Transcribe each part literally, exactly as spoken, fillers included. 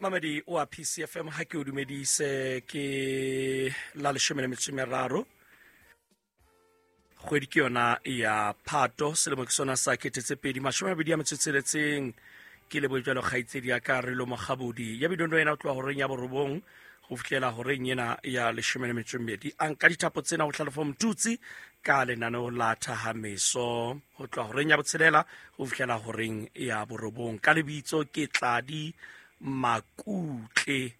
Mamedi oa P C F M, ha ke o dumedise ke la leshome le metso e meraro. Kgwedi ke yona ya Phato, selemo ke sona sa kete tse pedi mashome a mabedi a metso e tsheletseng. Ke lebohe jwalo kgaitsedi ya ka Relo Mokgabodi ya bidondo ena ho tloha horeng ya borobong ho fihlela horeng ena ya leshome le metso e mmedi. A nka dithapo tsena ho Hlalefo Motutsi ka lenaneo la Thahameso ho tloha horeng ya botshelela ho fihlela horeng ya borobong. Ka lebitso ke Tladi Makutle.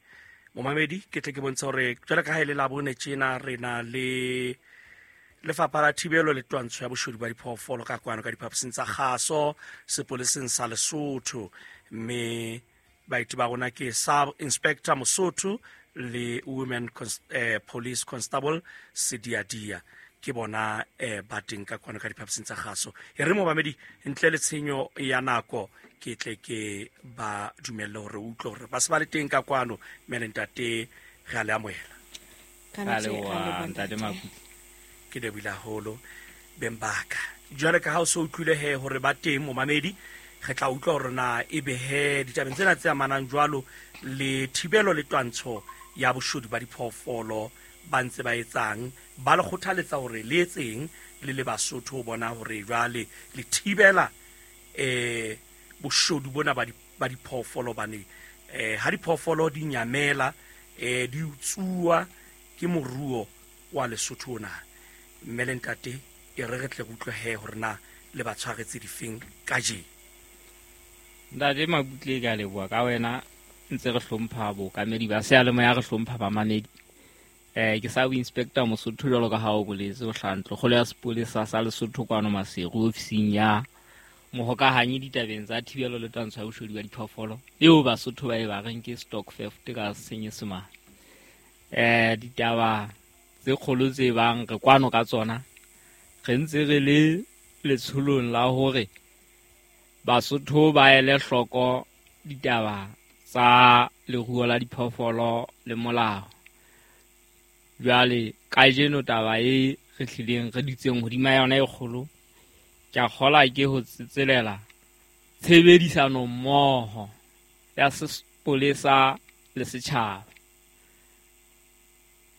Momamedi, ke tle ke bontshe hore jwalo ka ha e le Labone tjena re na le Lefapha la Thibelo le Twantsho ya Boshodu ba Diphoofolo ka kwano ka diphaposing tsa kgaso sepoleseng sa Lesotho, mme baeti ba rona ke Sub Inspector Mosotho le Women Cons-, eh, Police Constable Sediadia. Ke bona, eh, ba teng ka kwano ka diphaposing tsa kgaso. E re momamedi, ntle le tshenyo ya nako, ke tle ke ba dumelle hore o utlwe hore ba se ba le teng ka kwano. Mme le ntate, re a le amohela. Ka nete, Ka leboha, re a leboha, ntate ntate. Makutle. Ke lebohile haholo beng ba ka. Jwale ka ha o so utlwile he hore ba teng momamedi, re tla utlwa hore na ebe he ditabeng tsena tse amanang jwalo le thibelo le twantsho ya boshodu ba diphoofolo ba ntse ba etsang, ba le kgothaletsa hore le etseng le le Basotho ho bona hore jwale le thibela, eh, boshodu bona ba di-, ba diphoofolo. Hobane, eh, ha diphoofolo di nyamela, eh, di utsuwa ke moruo wa Lesotho ona. Mme le ntate, e re re tle re utlwe he hore na le ba tshwaretse difeng kajeno. Ntate Makutle, ke a leboha ka wena. Ntse re hlompha bookamedi ba seyalemoya, re hlompha bamamedi. Eh, ke Sub Inspector Mosotho jwalo ka ha o boletse, o hlaha ntlokgolo ya sepolesa sa Lesotho kwano Maseru, ofising ya mohokahanyi ditabeng tsa thibelo le twantsho ya boshodu ba diphoofolo, eo Basotho ba e ba reng ke stock theft ka Senyesemane. Eh, ditaba tse kgolo tse bang re kwano ka tsona, re ntse re le letsholong la hore Basotho ba ele hloko ditaba tsa leruo la diphoofolo le molao. Jwale kajeno taba e re hlileng re dutseng hodima yona e kgolo, ke a kgolwa ke ho tsetselela tshebedisano mmoho ya sepolesa le setjhaba.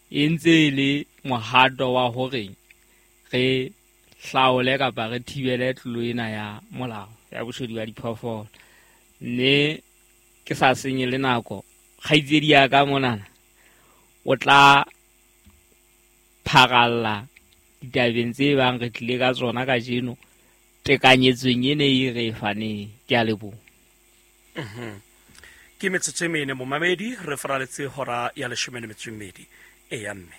E ntse e le mohato wa hore re hlaole kapa re thibele tlolo ena ya molao ya boshodu ba diphoofolo. Mme ke sa senye le nako, kgaitsedi ya ka monana o tla pharalla ditabeng tse bang re tlile ka tsona kajeno tekanyetsong ene e re e faneng. Ke a leboha. Mhm. Ke metsotso e mene momamedi, re faraletse hora ya leshome le metso e mmedi. Eya mme.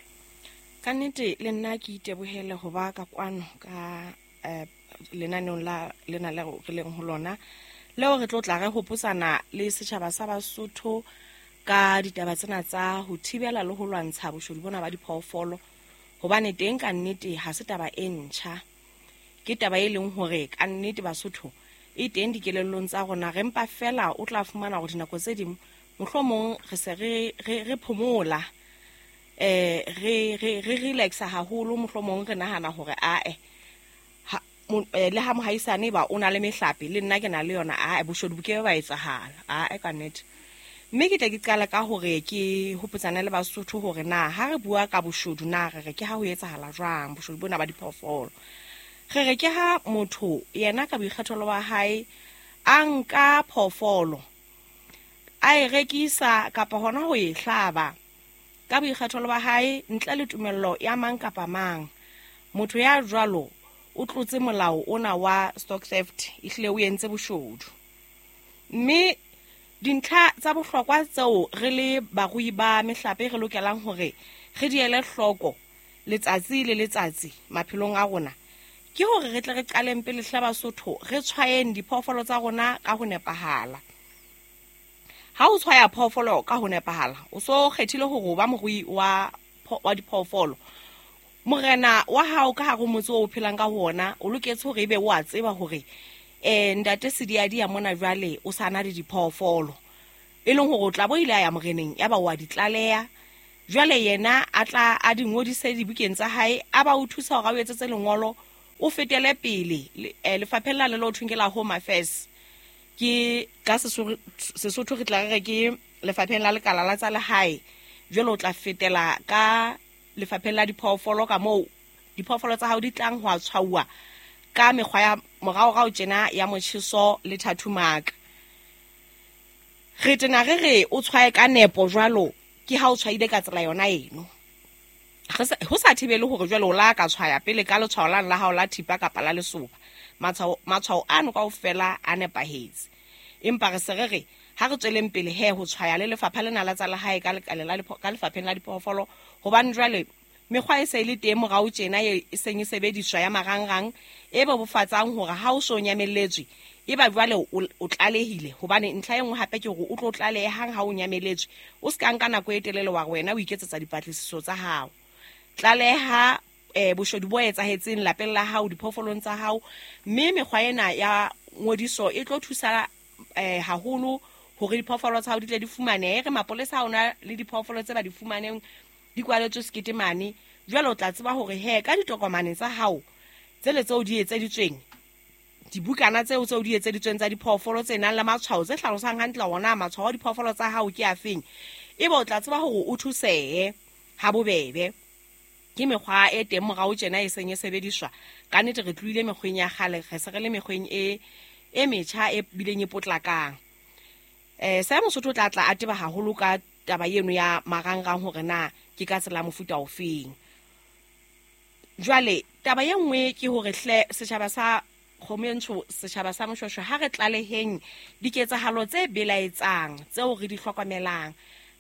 Ka nnete le nna ke itebohele ho ba ka kwano ka, eh, lenaneong la lena le re leng ho lona, leo re tlo tla re hopotsana le setjhaba sa Basotho ka ditaba tsena tsa ho thibela le ho lwantsha boshodu bona ba diphoofolo. Hobane teng ka nnete ha se taba e ntjha, ke taba e leng hore ka nnete Basotho e teng dikelellong tsa rona. Re mpa fela o tla fumana hore dinako tse ding mohlomong re se re, re, re phomola, eh, re, re, re relaxa haholo, mohlomong re nahana hore ae, ha, mo, eh, le ha mohaisane ba o na le mehlape le nna ke na le yona, ae, boshodu bo ke ba etsahala, ae, ka nnete. Mme ke tle ke qale ka hore ke hopotsane le Basotho hore na ha re bua ka boshodu na re re ke ha ho etsahala jwang boshodu bona ba diphoofolo. Re re ke ha motho yena ka boikgethelo ba hae a nka phoofolo a e rekisa kapa hona ho e hlaba ka boikgethelo ba hae ntle le tumello ya mang kapa mang. Motho ya jwalo o tlotse molao ona wa stock theft, ehlile o entse boshodu. Mme dintlha tsa bohlokwa tseo re le barui ba mehlape re lokelang hore re di ele hloko letsatsi le letsatsi maphelong a rona ke hore re tle re qaleng pele hle Basotho re tshwayeng diphoofolo tsa rona ka ho nepahala. Ha o tshwaya phoofolo ka ho nepahala, o so kgethile hore o ba morui wa pho-, wa diphoofolo. Morena wa hao ka hare ho motse oo o phelang ka ho ona o loketse hore ebe o a tseba hore, eh, ntate Sediadia mona jwale o sa na le diphoofolo, e leng hore o tla bo ile a ya moreneng ya ba wa di tlaleha. Jwale yena a tla a di ngodise dibukeng tsa hae, a ba o thusa hore a o etsetse lengolo, o fetele pele le, eh, lefapheng la le lo thweng ke la Home Affairs. Ke ka Sesotho, Sesotho re tla re re ke lefapheng la lekala la tsa lehae, jwale o tla fetela ka lefapheng la diphoofolo ka moo diphoofolo tsa hao di tlang ho a tshwauwa ka mekgwa ya moraorao tjena ya motjheso le tattoo. Re tena re re o tshwaye ka nepo jwalo ke ha o tshwaile ka tsela yona eno. Ho sa thibele hore jwale o la ka tshwaya pele ka letshwao la la hao la thipa kapa la lesoba. Matshwao matshwao ano kaofela a nepahetse. Empa re se re re ha re tsweleng pele he ho tshwaya le lefapha lena la tsa lehae ka lekala la ka lefapheng la diphoofolo, hobane jwale mekgwa e se e le teng morao tjena e seng e sebediswa ya marangrang e bobofatsang hore ha o so nyamelletswe e ba jwale o tlalehile. Hobane ntlha e nngwe hape ke hore o tlo tlaleha hang ha o nyameletswe, o se ka nka nako e telele wa wena o iketsetsa dipatlisiso tsa hao. Tlaleha eh boshodu bo etsahetseng lapeng la hao, diphoofolong tsa hao, mme mekgwa ena ya ngodiso e tlo thusa eh haholo hore diphoofolo tsa hao di tle di fumanehe. Re mapolesa ha ona le diphoofolo tse ba di fumaneng di kwaletswe sekete mane, jwale o tla tseba hore he ka ditokomane tsa hao tsele tseo di etseditsweng, dibukana tseo tseo di etseditsweng tsa diphoofolo tse nang le matshwao tse hlalosang hantle hore na matshwao a diphoofolo tsa hao ke afeng, ebe o tla tseba hore o thusehe ha bobebe. Ke mekgwa e teng morao tjena e seng e sebediswa. Ka nnete re tlohile mekgweng ya kgale, re se re le mekgweng e e metjha e bileng e potlakang. Eh sa Mosotho o tla tla a teba haholo ka taba eno ya marangrang hore na ke ka tsela mofuta ofeng. Jwale taba e nngwe ke hore hle setjhaba sa Kgomo setjhaba sa Moshoeshoe ha re tlaleheng diketsahalo tse belaetsang tseo re di hlokomelang.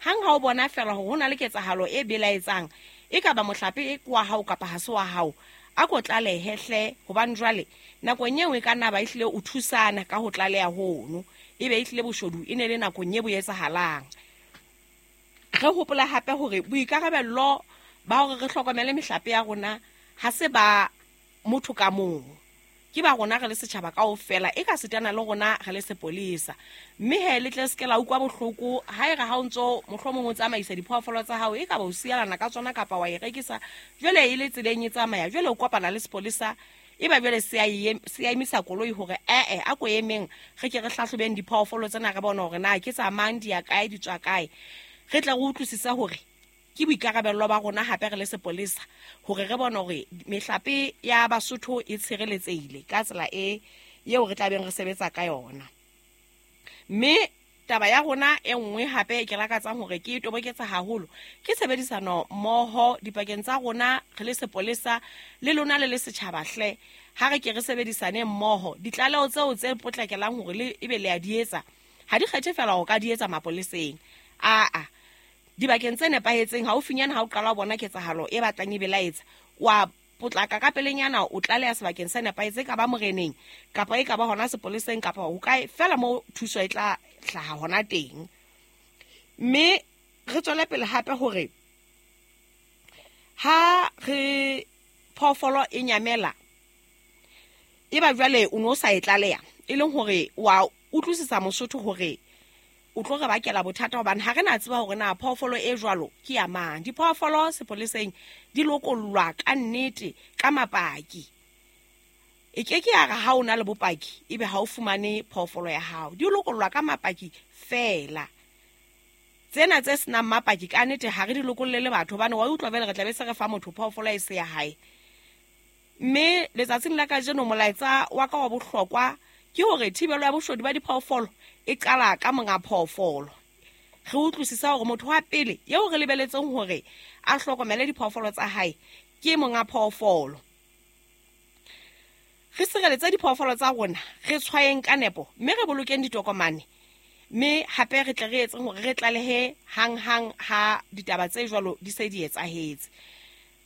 Hang ha o bona fela hore ho na le ketsahalo e belaetsang, e ka ba mohlape e kwa hao kapa ha se wa hao, a ko tlalehe hle, hobane jwale nakong eo e ka nna ba ehlile o thusana ka ho tlaleha hono, ebe ehlile boshodu e ne le nakong e bo etsahalang. Re hopola hape hore boikarabello ba hore re hlokomele mehlape ya rona ha se ba motho ka mong, ke ba rona re le setjhaba kaofela, e ka sitana le rona re le sepolesa. Mme he le tle se ke la utlwa bohloko ha e re ha o ntso mohlomong o tsamaisa diphoofolo tsa hao, e ka ba o sialana ka tsona kapa wa e rekisa, jwale e le tseleng e tsamaya, jwale o kopana le sepolesa, e ba jwale se a emisa koloi hore ee a ko emeng re ke re hlahlobeng diphoofolo tsena re bone hore na ke tsa mang, di ya kae, di tswa kae. Re tla re utlwisisa hore ke boikarabello ba rona hape re le sepolesa hore re bone hore mehlape ya Basotho e tshireletsehile ka tsela e eo re tla beng re sebetsa ka yona. Mme taba ya rona e nngwe hape ke lakatsang hore ke e toboketsa haholo ke tshebedisano mmoho dipakeng tsa rona re le sepolesa le lona le le setjhaba hle. Ha re ke re sebedisane mmoho, ditlaleho tseo tse potlakelang hore le ebe le a di etsa ha di kgethe fela ho ka di etsa mapoleseng. Aa dibakeng tse nepahetseng haufinyana ha o qala ho bona ketsahalo e batlang e belaetsa, wa potlaka ka pelenyana o tlaleha sebakeng se nepahetseng, ka ba moreneng kapa e ka ba hona sepoleseng kapa ho kae fela mo thuso e tla hlaha hona teng. Mme re tswele pele hape hore ha re phoofolo e nyamela e ba jwale o no sa e tlaleha, e leng hore wa utlwisisa Mosotho hore o tlo re bakela bothata, hobane ha re na tseba hore na phoofolo e jwalo ke ya mang. Diphoofolo sepoleseng di lokollwa ka nnete ka mapaki. E ke ke ya re ha o na le bopaki ebe ha o fumane phoofolo ya hao, di lokollwa ka mapaki fela. Tsena tse senang mapaki ka nnete ha re di lokollele batho, hobane wa utlwa vele re tla be se re fa motho phoofolo e se ya hae. Mme letsatsing la kajeno molaetsa wa ka wa bohlokwa ke hore thibelo ya boshodu ba diphoofolo e qala ka monga phoofolo. Re utlwisisa hore motho wa pele eo re lebeletseng hore a hlokomele diphoofolo tsa hae ke monga phoofolo. Re sireletse diphoofolo tsa rona, re tshwayeng ka nepo, mme re bolokeng ditokomane, mme hape re tle re etseng hore re tlalehe hanghang ha ditaba tse jwalo di se di etsahetse.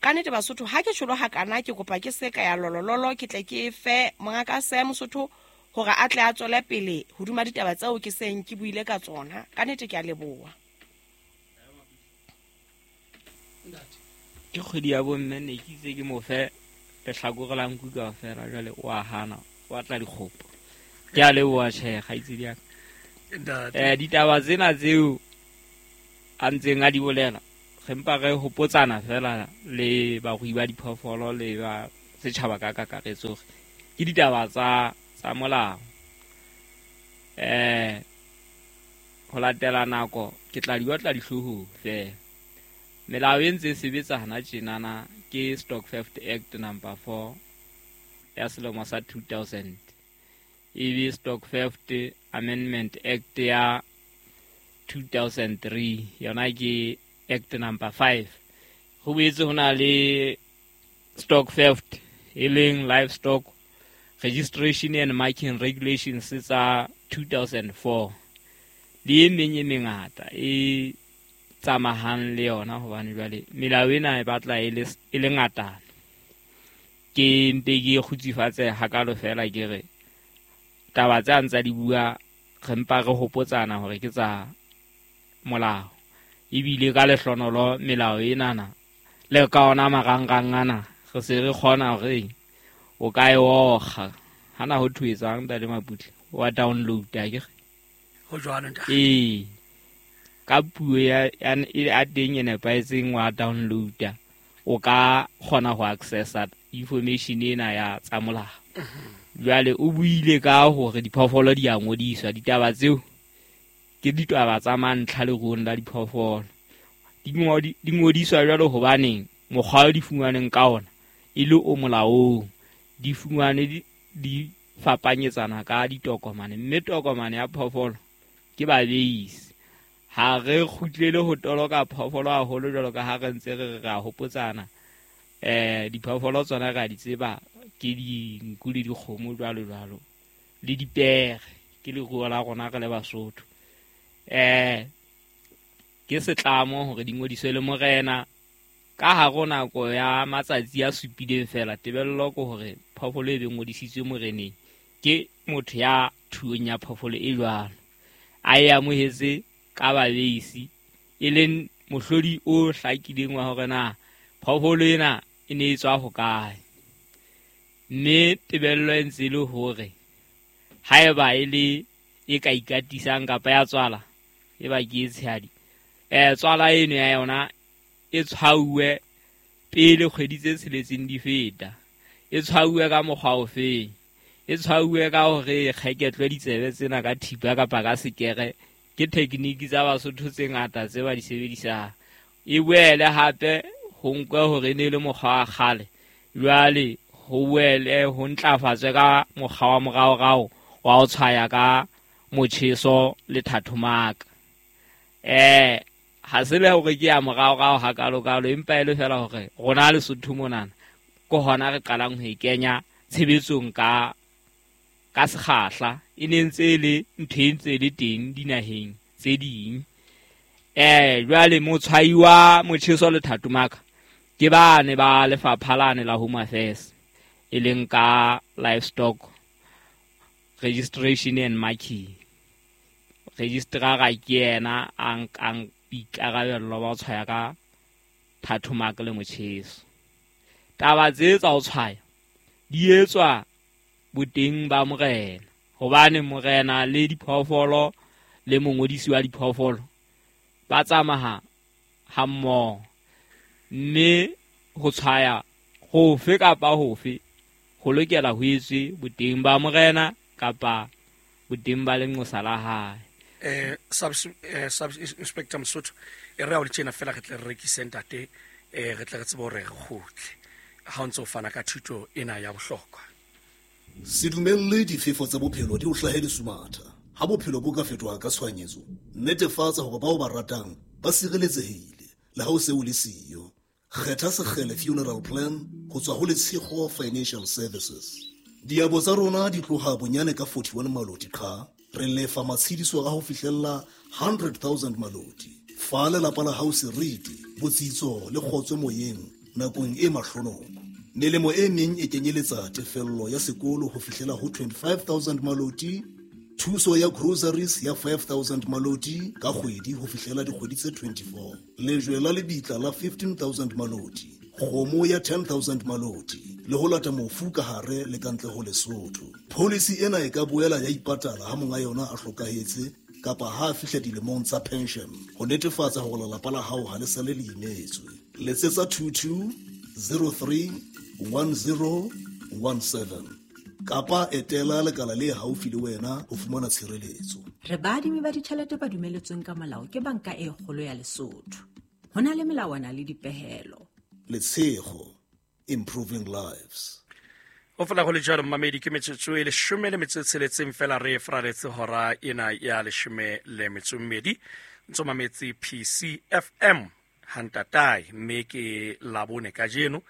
Ka nnete Basotho, ha ke tjholo hakana ke kopa ke se ka ya lolololo, ke tle ke fe mongaka se Mosotho hore a tle a tswele pele hodima ditaba tseo ke seng ke buile ka tsona. Ka nnete ke a leboha. Ke kgwedi ya bomme, ne ke itse ke mo fe lehlakore la nku kaofela, jwale o a hana, o batla dikgopo. Ke a leboha tjhe kgaitsedi ya ka. Eh ditaba tsena tseo a ntseng a di bolela, re mpa re hopotsana fela le barui ba diphoofolo le ba setjhaba ka kakaretso hore ke ditaba tsa tsa molao. Eh ho latela nako Ke tla di otla dihloohong fela. Melao e ntse e sebetsa hana tjenana ke Stock Theft Act number four ya selemo sa two thousand. Ebe Stock Theft Amendment Act ya two thousand three, yona ke Act number five. Ho boetse ho na le Stock Theft e leng Livestock Registration and Marking Regulations tsa two thousand four. Le e meng e mengata e tsamahang le yona, hobane jwale melao ena e batla e le e le ngatana. Ke mpe ke kgutsufatse hakalo fela ke re taba tse a ntsa di bua re mpa re hopotsana hore ke tsa molao. Ebile ka lehlonolo melao enana le ka ona marangrang ana re se re kgona hore o ka e okga. Hana ho thwetsang Ntate Maputle wa download akere? Ho jwalo ntate. Ee, ka puo ya ya teng e nepahetseng wa download-a, o ka kgona ho accessa information ena ya tsa molao. Jwale o buile ka hore diphoofolo di a ngodiswa, ditaba tseo ke ditaba tsa mantlha leruong la diphoofolo. Di ngodi-, di ngodiswa jwalo hobaneng mokgwa o di fumaneng ka ona e le o molaong, di fumane di, di fapanyetsana ka ditokomane, mme tokomane ya phoofolo ke babeisi. Ha re kgutlele ho toloka phoofolo haholo jwalo ka ha re ntse re re ra hopotsana. Eh, diphoofolo tsona re a di tseba ke dinku le dikgomo jwalo jwalo, le dipere ke leruo la rona re le Basotho. Eh, ke setlamo hore di ngodiswe le morena ka hare ho nako ya matsatsi a supileng fela. Tebello ke hore phoofolo e be ngodisitswe moreneng ke motho ya thuong ya phoofolo e jwalo, a e amohetse ka babeisi, e leng mohlodi o hlakileng wa hore na phoofolo ena e ne e tswa hokae. Mme tebello e ntse e le hore haeba e le e ka ikatisang kapa ya tswala, e ba ke e tshehadi, eh, tswala eno ya yona e tshwauwe pele kgwedi tse tsheletseng di feta. E tshwauwe ka mokgwa ofeng? E tshwauwe ka hore e kgeketlwe ditsebe tsena ka thipa kapa ka sekere. Ke technique tsa Basotho tse ngata tse ba di sebedisang. E boele hape ho nkwe hore e ne e le mokgwa wa kgale, jwale ho boele ho ntlafatswe ka mokgwa wa moraorao wa ho tshwaya ka motjheso le thathomaka. Eh, ha se le hore ke ya moraorao hakalokalo, empa e le fela hore rona Lesotho monana ke hona re qalang ho e kenya tshebetsong ka, ka sekgahla. E ne ntse e le ntho e ntse e le teng dinaheng tse ding. Eh, jwale motshwayi wa motjheso le thathomaka ke bane ba lefapha lane la Home Affairs, e leng ka Livestock Registration and Marking. Registrar ke yena a nkang boikarabello ba ho tshwaya ka thathomaka le motjheso. Taba tse tsa ho tshwaya di etswa boteng ba morena, hobane morena le diphoofolo le mongodisi wa diphoofolo ba tsamaya hammoho. Mme ho tshwaya hofe kapa hofe ho lokela ho etswe boteng ba morena kapa boteng ba lenqosa la hae. Eh, sub, eh, sub inspector Mosotho, e re ha o le tjena fela re tle re rekise ntate, eh, re tle re tsebe hore re kgutle ha o ntso fana ka thuto ena ya bohlokwa. Se dumelle difefo tsa bophelo di o hlahe lesumatha. Ha bophelo bo ka fetoha ka tshohanyetso, netefatsa hore bao ba ratang ba sireletsehile le ha o se o le siyo. Kgetha Sekgele Funeral Plan ho tswa ho Letshego Financial Services. Diabo tsa rona di tloha bonyane ka forty-one maloti qha. Re lefa matshediso a ho fihlella hundred thousand maloti. Fa lelapa la hao seriti, botsitso le kgotso moyeng nakong e mahlonoko. Melemo e meng e kenyeletsa tefello ya sekolo ho fihlela ho twenty-five thousand maloti, thuso ya groceries ya five thousand maloti ka kgwedi ho fihlela dikgwedi tse twenty-four, lejwe la lebitla la fifteen thousand maloti, kgomo ya ten thousand maloti, le ho lata mofu ka hare le ka ntle ho Lesotho. Policy ena e ka boela ya ipatala ha monga yona a hlokahetse kapa ha a fihla dilemong tsa pension, ho netefatsa hore lelapa la hao ha le sale le imetswe. Letsetsa two two zero three one zero one seven kapa etela lekala le haufi le wena ho fumana tshireletso. Re baadimi ba ditjhelete ba dumeletsweng ka molao ke Banka e Kgolo ya Lesotho. Ho na le melawana le dipehelo. Letshego, improving lives. Ho fela go le jalo mmamedi ke metsotso e leshome le metso e tsheletseng fela re fraletse hora ena ya leshome le metso e mmedi. Ntso mametse P C F M hantatae mme ke Labone kajeno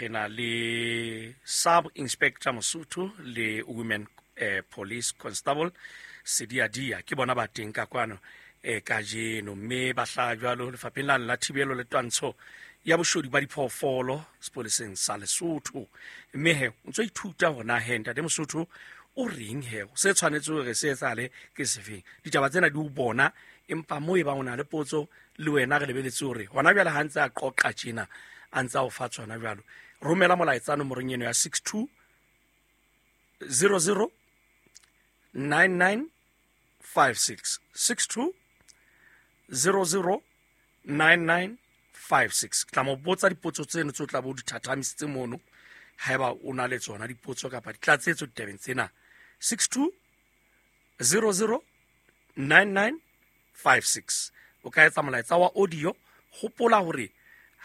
re na le Sub Inspector Mosotho le Women eh, Police Constable Sediadia ke bona ba teng ka kwano eh, kajeno mme ba hlaha jwalo lefapheng la la thibelo le twantsho ya boshodu ba diphoofolo sepoleseng sa Lesotho. Mme he o ntso ithuta hona he ntate Mosotho o reng he se tshwanetse hore se etsahale ke sefeng. Ditaba tsena di o bona empa mo e ba o na le potso le wena re lebeletse hore hona jwale ha ntse a qoqa tjena a ntse a o fa tsona jwalo. Romela molaetsa nomorong eno ya six two zero zero nine nine five six six two zero zero nine nine five six. Tla mo botsa dipotso tseno tse o tla bo di thathamisitse mono haeba o na le tsona dipotso kapa ditlatsetso ditabeng tsena. six two zero zero nine nine five six. O ka etsa molaetsa wa audio. Hopola hore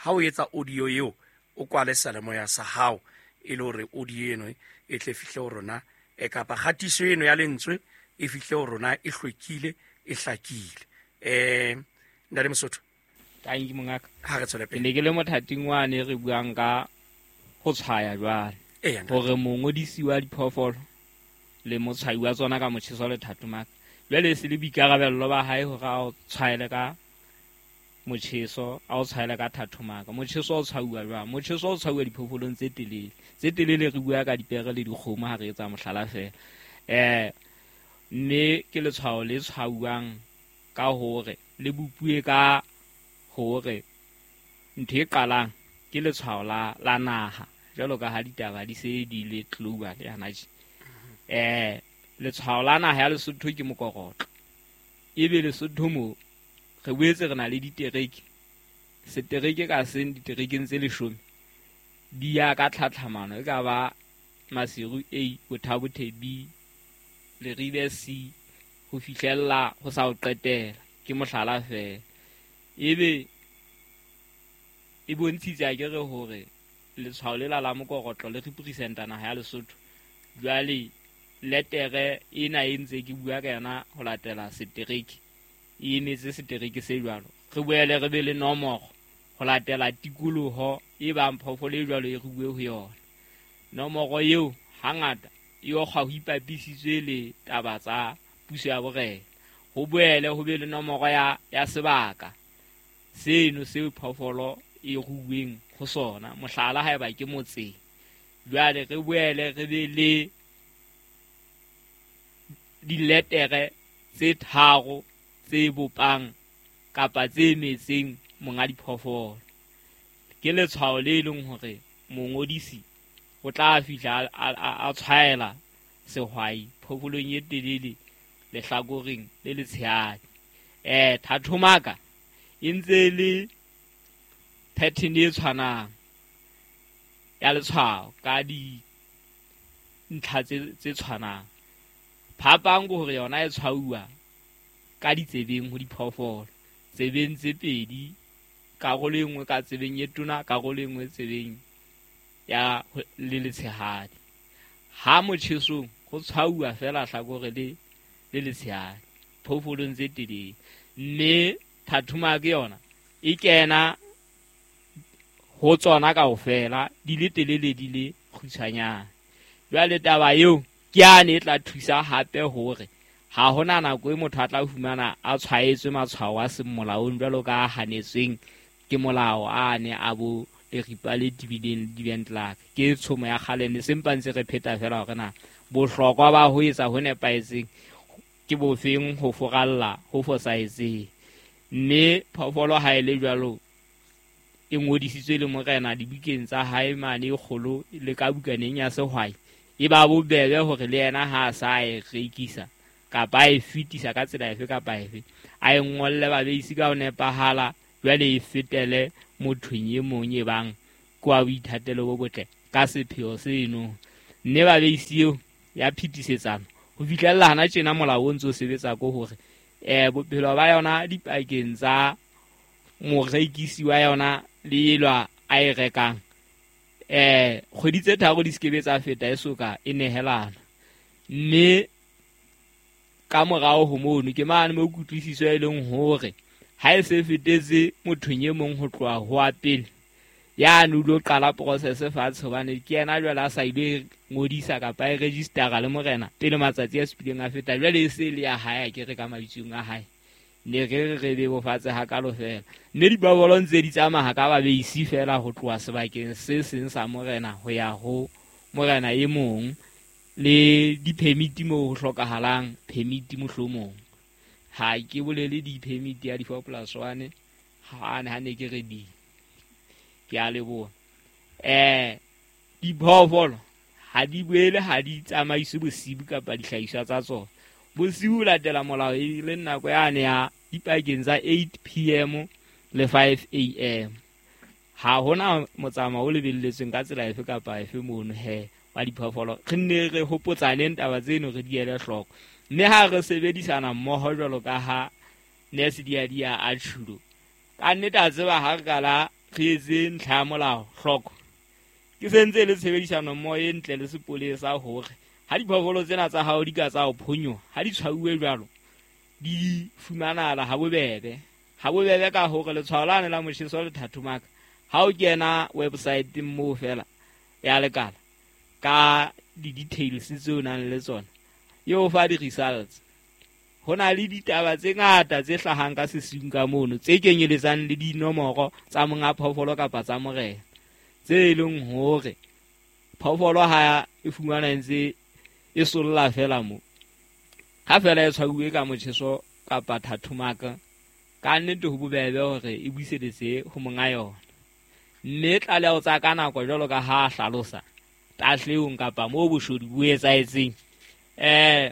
ha o etsa audio eo o kwale seyalemoya sa hao e le hore audio eno e tle fihle ho rona e kapa kgatiso eno ya lentswe e fihle ho rona e hlwekile e hlakile. Eh ntate Mosotho, tanki mongaka, ha re tswele pele. Ke ne ke le mothating wane re buang ka ho tshwaya jwale hore mongodisi wa diphoofolo le motshwayi wa tsona ka motjheso le thatomaka jwale se le boikarabello ba hae hore a o tshwaele ka motjheso, a o tshwaele ka thatomaka. Motjheso o tshwauwa jwang? Motjheso o tshwauwa diphoofolong tse telele. Tse telele re bua ka dipere le dikgomo ha re etsa mohlala fela. Eh mme ke letshwao le tshwauwang ka hore le bopuwe ka hore ntho e qalang ke letshwao la la naha jwalo ka ha ditaba di se di le global yana tje. Eh letshwao la naha ya Lesotho ke mokorotlo. Ebe Lesotho mo re boetse re na le ditereke. Setereke ka seng diterekeng tse leshome di ya ka tlhatlhamano e ka ba Maseru A, Bothabothe B, Leribe C ho fihlella ho sa o qetela. Ke mohlala fela. Ebe e bontshitse a ke re hore letshwao lela la mokorotlo le representa naha ya Lesotho. Jwale letere ena e ntse ke bua ka yona ho latela setereke e emetse setereke se jwalo. Re boele re be le nomoro ho latela tikoloho e bang phoofolo e jwalo e ruwe ho yona. Nomoro eo hangata e okgwa ho ipapisitswe le taba tsa puso ya borena. Ho boele ho be le nomoro ya ya sebaka seno seo phoofolo e ruweng ho sona, mohlala haeba ke motseng. Jwale re boele re be le diletere tse tharo tse bopang kapa tse emetseng monga diphoofolo. Ke letshwao le leng hore mongodisi o tla fihla a tshwaela sehwai phoofolong e telele lehlakoreng le letshehadi. Eh thathomaka e ntse le pattern e tshwanang ya letshwao ka dintlha tse tshwanang. Phapang ke hore yona e tshwauwa ka ditsebeng ho diphoofolo, tsebeng tse pedi, karolo e nngwe ka tsebeng e tona, karolo e nngwe tsebeng ya le letshehadi. Ha motjhesong ho tshwauwa fela hlakore le le letshehadi phoofolong tse telele. Mme thathomaka yona e kena ho tsona kaofela di le telele di le kgutshwanyane. Jwale taba eo ke yane e tla thusa hape hore ha hona nako e motho a tla fumana a tshwaetswe matshwao a seng molaong jwalo ka a hanetsweng ke molao a ne a bo leripa le tebileng di-bentlak. Ke tshomo ya kgale ne sempa ntse re pheta fela hore na bohlokwa ba ho etsa ho nepahetseng ke bofeng ho foralla ho fosahetseng. Mme phoofolo ha e le jwalo e ngodisitswe le morena dibukeng tsa hae mane e kgolo le ka bukaneng ya sehwai, e ba bobebe hore le yena ha a sa e rekisa kapa a e fetisa ka tsela efe kapa efe a e ngolle babeisi ka ho nepahala, jwale e fetele mothong e mong e bang ke wa boithatelo bo botle ka sepheo seno. Mme babeisi eo ya phetisetsano Ho fihlella hana tjena molao o ntso sebetsa ko hore eh bophelo ba yona dipakeng tsa morekisi wa yona le elwa a e rekang eh kgwedi tse tharo di sekebe tsa feta e soka e nehelana. Mme ka morao ho mono ke mane mo kutlwisiso e leng hore ha e se fetetse mothong e mong ho tloha ho wa pele ya no lo qala process fatshe, hobane ke yena jwale a sa ile ngodisa kapa e registera le morena pele matsatsi a supileng a feta. Jwale e se le ya hae ke re ka mabitsong a hae ne re re bebofatse hakalo fela. Mme diphoofolo ntse di tsamaya ka babeisi fela ho tloha sebakeng se seng sa morena ho ya ho morena e mong, le di-permit moo ho hlokahalang permit mohlomong. Ha ke bolele di-permit ya di-four plus one ha ne ha ne ke re di ke a leboha. Eh diphoofolo ha di boele ha di tsamaiswe bosibu kapa dihlahiswa tsa tsona. Bosiu latela molao e le nako yane ya dipakeng tsa eight p m le five a m. Ha hona motsamao o lebelletsweng ka tsela efe kapa efe mono he wa diphoofolo. Re nne re hopotsaneng taba tseno re di ele hloko. Mme ha re sebedisana mmoho jwalo ka ha nurse Diadia a tjhulo, ka nnete a tseba ha re kala re etse ntlha ya molao hloko. Ke sentse le tshebedisano mmoho e ntle le sepolesa hore ha diphoofolo tsena tsa hao di ka tsa ho phonyoha, ha di tshwauwe jwalo di fumanahala ha bobebe. Ha bobebe ka hore letshwao lane la motjheso le thathomaka ha o kena website moo fela ya lekala ka di-details tseo o nang le tsona e o fa di-results. Ho na le ditaba tse ngata tse hlahang ka sesiung ka mono tse kenyeletsang le dinomoro tsa monga phoofolo kapa tsa morena, tse e leng hore phoofolo ha e fumana ntse e solla fela mo. Ha fela e tshwauwe ka motjheso kapa thathomaka, ka nnete ho bobebe hore e buiseletse ho monga yona. Mme tlaleho tsa ka nako jwalo ka ha hlalosa tahlehong kapa moo boshodu bo etsahetseng, eh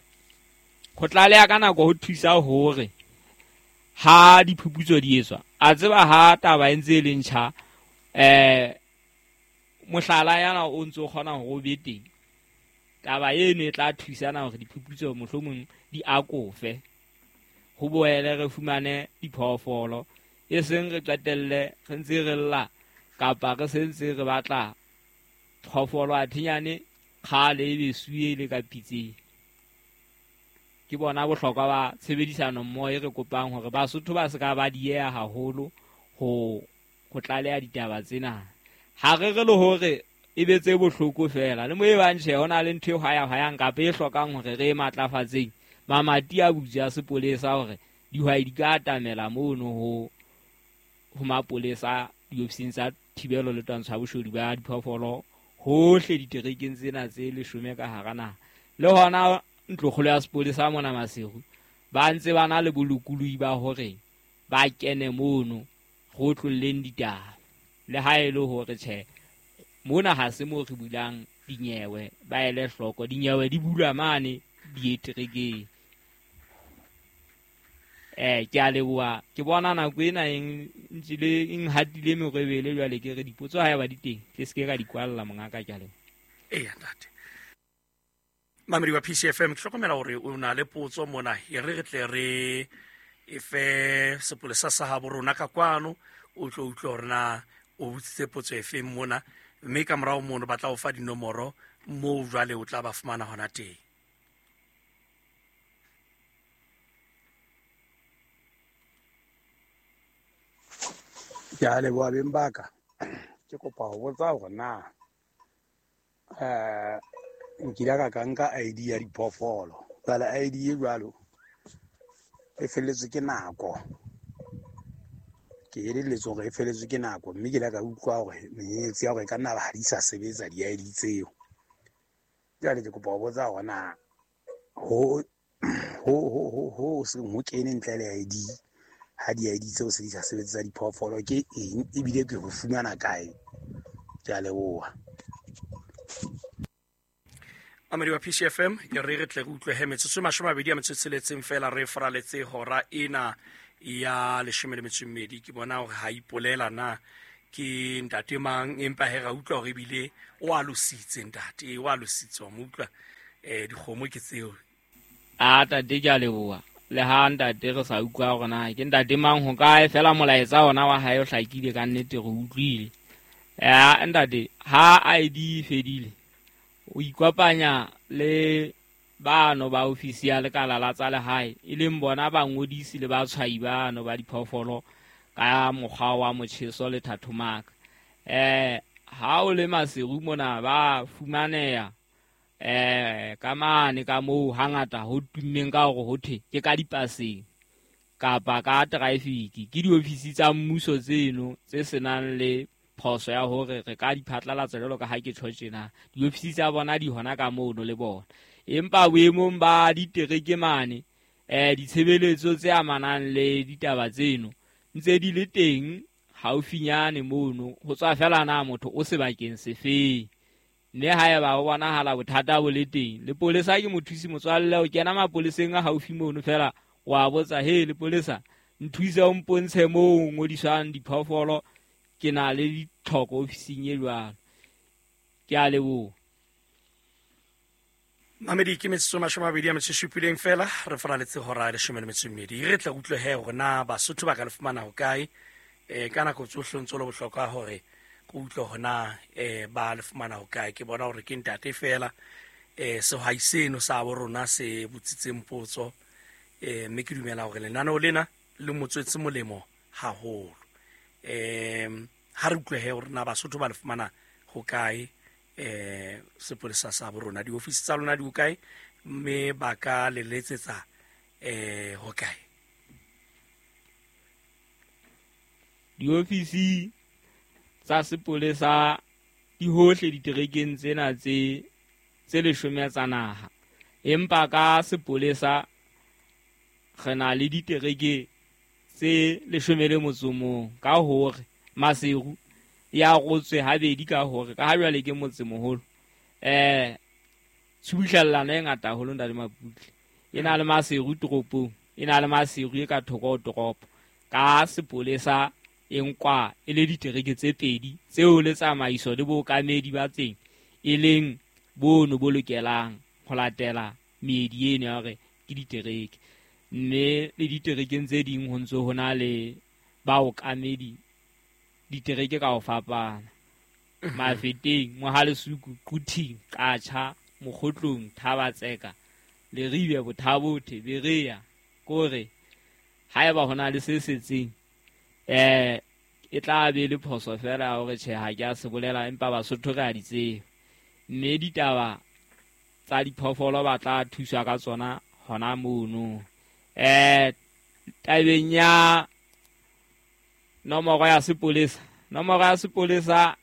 ho tlaleha ka nako ho thusa hore ha diphuputso di etswa, a tseba ha taba e ntse e le ntjha eh mohlala yana o ntso kgona hore o be teng. Taba eno e tla thusana hore diphuputso mohlomong di akofe, ho boele re fumane diphoofolo, e seng re qetelle re ntse re lla kapa re sentse re batla phoofolo a thinyane kgale e besuwe le ka pitseng. Ke bona bohlokwa ba tshebedisano mmoho e re kopang hore Basotho ba se ka ba dieha haholo ho ho tlaleha ditaba tsena. Ha re re le hore e be tse bohloko fela le mo e bang tjhe hona le ntho e hwaya-hwayang kapa e hlokang hore re e matlafatseng, mamati a butswe a sepolesa hore dihwai di ka atamela mono ho ho mapolesa diofising tsa thibelo le twantsho ya boshodu ba diphoofolo hohle diterekeng tsena tse leshome ka hara naha. Le hona ntlokgolo ya sepolesa mona Maseru ba ntse ba na le bolokolohi ba hore ba kene mono go tlolleng ditaba, le ha e le hore tjhe mona ha se mo re bulang dinyewe, ba ele hloko dinyewe di bulwa mane dieterekeng. Eh ke a leboha, ke bona nako ena e ntjile e nhatile merebele jwale ke re dipotso ha eba di teng ke se ke ka di kwalla mongaka, ke a leboha. Eya ntate. Mamedi wa P C F M, ke hlokomela hore o na le potso mona, e re re tle re e fe sepolesa sa habo rona ka kwano, o tlo utlwe hore na o botsitse potso efeng mona, mme ka morao mono ba tla o fa dinomoro moo jwale o tla ba fumana hona teng. Ke a leboha beng ba ka. Ke kopa ho botsa hore na eh nkile ka ka nka I D ya diphoofolo. Jwale I D e jwalo e felletswe ke nako. Ke elelletswe hore e felletswe ke nako, mme ke ile ka utlwa hore menyenyetsi ya hore e ka nna ba ha di sa sebetsa di-I D tseo. Jwale ke kopa ho botsa hore na ho ho ho ho seng ho kene ntle le I D, ha di-I D tseo se di sa sebetsa diphoofolo ke eng, ebile ke ho fumana kae? Ke a leboha. Mamedi wa P C F M, ke re re tle re utlwe he metsotso e mashome a mabedi a metso e tsheletseng fela re faraletse hora ena ya leshome le metso e mmedi. Ke bona hore ha ipolela na ke ntate mang, empa he ra utlwa hore ebile o alositse ntate, o alositse wa mo utlwa. Eh dikgomo ke tseo A tate ke a leboha. Le ha ntate re sa utlwa hore na ke ntate mang ho kae, fela molaetsa ona wa hae o hlakile ka nnete, re utlwile. Eh ntate, ha I D e fedile, o ikopanya le bano ba ofisi ya lekala la tsa lehae, e leng bona ba ngodisi le ba tshwai bano ba diphoofolo ka mokgwa wa motjheso le thathomaka. Eh ha o le Maseru mona ba fumaneha eh ka mane ka moo hangata ho tummeng ka hore ho thwe ke ka dipaseng kapa ka traffic. Ke diofisi tsa mmuso tseno tse senang le phoso ya hore re ka di phatlalatsa jwalo ka ha ke tjho tjena. Diofisi tsa bona di hona ka mono le bona. Empa boemong ba ditereke mane, eh ditshebeletso tse amanang le ditaba tseno ntse di le teng haufinyane mono, ho tswa fela na motho o sebakeng sefeng. Mme haeba o bonahala bothata bo le teng, lepolesa ke mothusi motswalle, o kena mapoleseng a haufi mono fela, wa botsa, he lepolesa, nthuse o mpontshe moo ngodiswang diphoofolo, ke na le ditlhoko ofising e jwalo. Ke a leboha. Mamedi, ke metsotso mashome a mabedi a metso e supileng fela, re faraletse hora ya leshome le metso e mmedi. Re tla utlwe he hore na Basotho ba ka le fumana hokae. Eh ka nako tsohle ntse le bohlokwa hore ke utlwe hore na eh ba le fumana hokae. Ke bona hore ke ntate fela eh sehwai seno sa bo rona se botsitseng potso, eh mme ke dumela hore lenaneo lena le motswetse molemo haholo. Eh ha re utlwe he hore na Basotho ba le fumana hokae eh sepolesa sa bo rona, diofisi tsa lona di hokae, mme ba ka le letsetsa eh hokae? Diofisi tsa sepolesa di hohle diterekeng tsena tse tse leshome tsa naha, empa ka sepolesa re na le ditereke tse leshome le motso mong, ka hore Maseru ya rotswe habedi ka hore ka ha jwale ke motsemoholo. Eh tshubuhlellano e ngata haholo ntate Maputle, e na le Maseru toropong, e na le Maseru e ka thoko ho toropo. Ka sepolesa e nkwa e le ditereke tse pedi tseo le tsamaiso le bookamedi ba teng e leng bono bo lokelang ho latela meedi eno ya hore ke ditereke. Mme le diterekeng tse ding ho ntso ho na le baokamedi ditereke ka ho fapana. Mafeteng, Mohalesuku, Quthing, Qacha, Mokgotlong, Thabatseka, Leribe, Bothabothe, Berea, kore haeba hona le se setseng eh e tla be le phoso fela hore tjhe ha ke a se bolela, empa Basotho re a di tseba. Mme ditaba tsa diphoofolo ba tla thuswa ka tsona hona mono. Eh tabeng ya nomoro ya sepolesa, nomoro ya sepolesa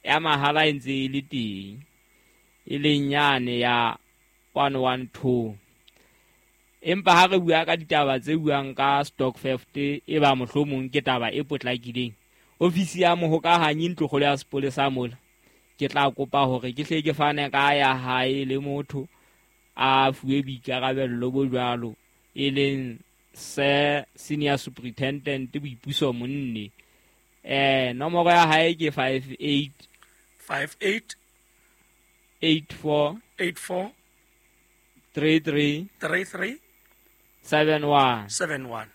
ya mahala e ntse e le teng, e leng yane ya one one two. Empa ha re bua ka ditaba tse buang ka stock theft, e ba mohlomong ke taba e potlakileng, ofisi ya mohokahanyi ntlokgolo ya sepolesa mola, ke tla kopa hore ke hle ke fane ka ya hae le motho a fuwe boikarabello bo jwalo, e leng se senior superintendent Boipuso Monne. Eh nomoro ya hae ke five eight five eight eight four eight four three three three three seven one seven one.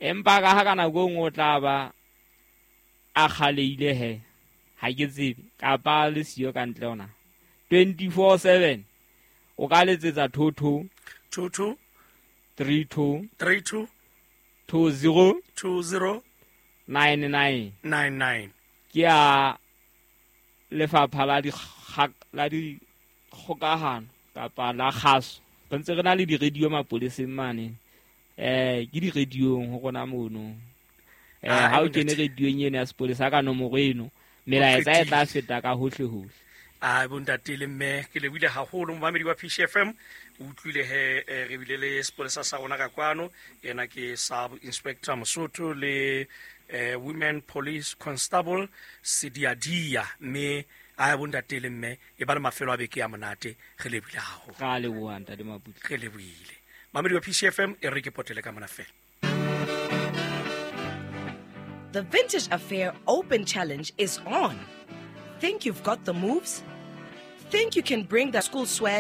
Empa ka ha ka nako nngwe o tla ba a kgaleile he, ha ke tsebe kapa le siyo ka ntle ona. twenty-four seven o ka letsetsa two two two two three two three two two zero two zero nine nine nine nine. Ke a lefapha la di la dikgokahano kapa la kgaso. Re ntse re na le di-radio mapoleseng mane, eh ke di-radiong ho rona mono. Eh ha o kene radiong eno ya sepolesa ka nomoro eno, melaetsa e tla feta ka hohle hohle. A bontate le mme, ke lebohile haholo momamedi wa P C F M. O utlwile he re bile le sepolesa sa rona ka kwano, yena ke Sub Inspector Mosotho le eh, Women Police Constable Sediadia. Mme a bontate le mme e ba le mafelo a beke ya monate, re lebohile haholo. Ka leboha ntate Maputle. Re lebohile mamedi wa P C F M, e re ke potele ka mona fela. The Vintage Affair Open Challenge is on. Think you've got the moves? Think you can bring the school swag